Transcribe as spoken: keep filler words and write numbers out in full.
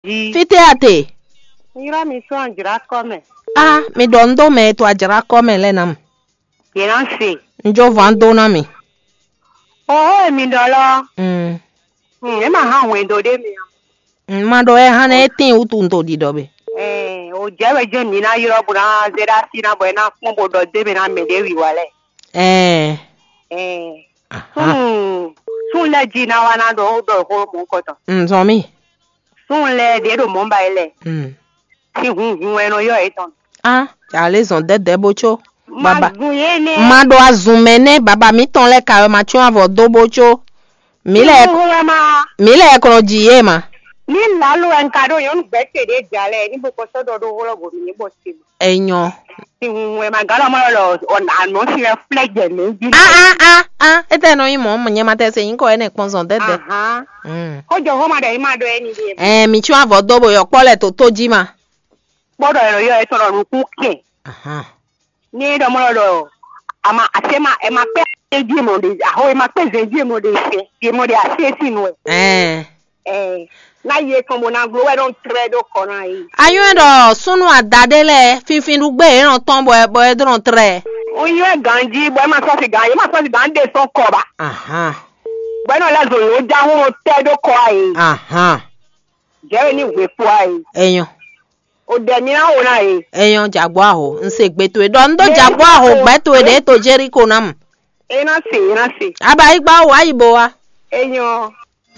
Fítɛ́ a te? Ylɔ́ mi sɔ́ ajlǎkɔ mɛ. A, mi ɖɔ un dó mɛ e to ajlǎkɔ mɛ lɛ́ɛ ná mi. Yě ná se. Un jó vǎn dó ná mi. Oho e mi ɖɔ lɔ. Mm. Mm, é ma hán hwɛndo ɖé mi a. Un ma ɖɔ ɛ hán ɛ tín wútu un to ɖiɖɔ be. Ɛɛ, o jɛ wɛ jɛ mi ná ylɔ́ bó ná zé ɖá sí ná bɔ é ná kpɔ́n bó ɖɔ dé mɛ ná mɛ ɖě wǐwá lɛ. Ɛɛ. Ɛɛ. Aha. Sun sun lɛ ji ná wá ná ɖɔ ó ɖɔ xó mɔ kɔtɔ. Un zɔn mi. Sun lɛ ɖě ɖo mɔ̌ ba yi lɛ. Mm. Sin hunhun wɛ nɔ yɔ yětɔn. A, alé zɔn dɛdɛ bó có. Ma baba zun yé nɛ. Ma ɖo azun mɛ nɛ baba mitɔn lɛ ka wɛ ma tsɔn avɔ dó bó có. Mi lɛ Sin hunhun wɛ ma. Mi lɛ kɔnɔ ji yé ma. Ní lǎlo wɛ un ka ɖo nyɔ̌nu gbɛ̌ ce ɖě ja lɛ ní bó kɔ sɔ́ ɖɔ ɖó xó lɔ bɔ mǐ bɔ se. Enyɔ. Sin hunhun wɛ ma gǎn lɔ mɔ lɔ ɔ anɔ sin wɛ flɛ jɛ mɛ jí. A a a a, etɛ nɔ nyi mɔ nyɛ ma tɛ se nyikɔ ɛnɛ kpɔn zɔn dɛdɛ. Ahan. Mm. Kó jɔ xó ma ɖɔ yín ma ɖɔ ɛni ɖe. Ɛɛ, mi tsɔn avɔ dó bo yɔ kpɔ lɛ tó tó jí ma. Kpɔɖɔ yɔ yɔ etɔn ɖɔ nukún kɛ. Ahan. Ní ɖɔ mɔ lɔ ɖɔ ama ase ma ɛ ma kpɛ ezi mɔ ɖe aho ɛ ma kpɛ zɛn ezi mɔ ɖe sɛ ezi mɔ ɖe ase si nu ɛ. Ɛɛ. Ɛɛ. Na yi etɔn bo na glo wɛ ɖo trɛ ɖo kɔ na yi. Anyɔ́ ɖɔ súnú ada ɖé lɛ́ɛ finfin ɖu gbé yě nɔ tɔn bɔ bɔ é ɖo trɛ. O yi wɛ ganji bɔ ɛ ma sɔ si gan yě ma sɔ si gan ɖe sɔn kɔ ba. Ahan. Bɔ ɛ nɔ lɛ zɔ yǒ ja hún tɛ ɖó kɔ ayi. Ahan. Jɛ wɛ ní hwe kpo ayi. Enyɔ. O ɖɛ mi ná wo ná ye. Enyɔ jagbɔ aho. Un se gbe towe ɖɔ un ɖó jagbɔ aho gbɛ towe ɖe to Jeriko ná mu. E ná se e ná se. Aba yi gba wo ayi bo wa. Enyɔ.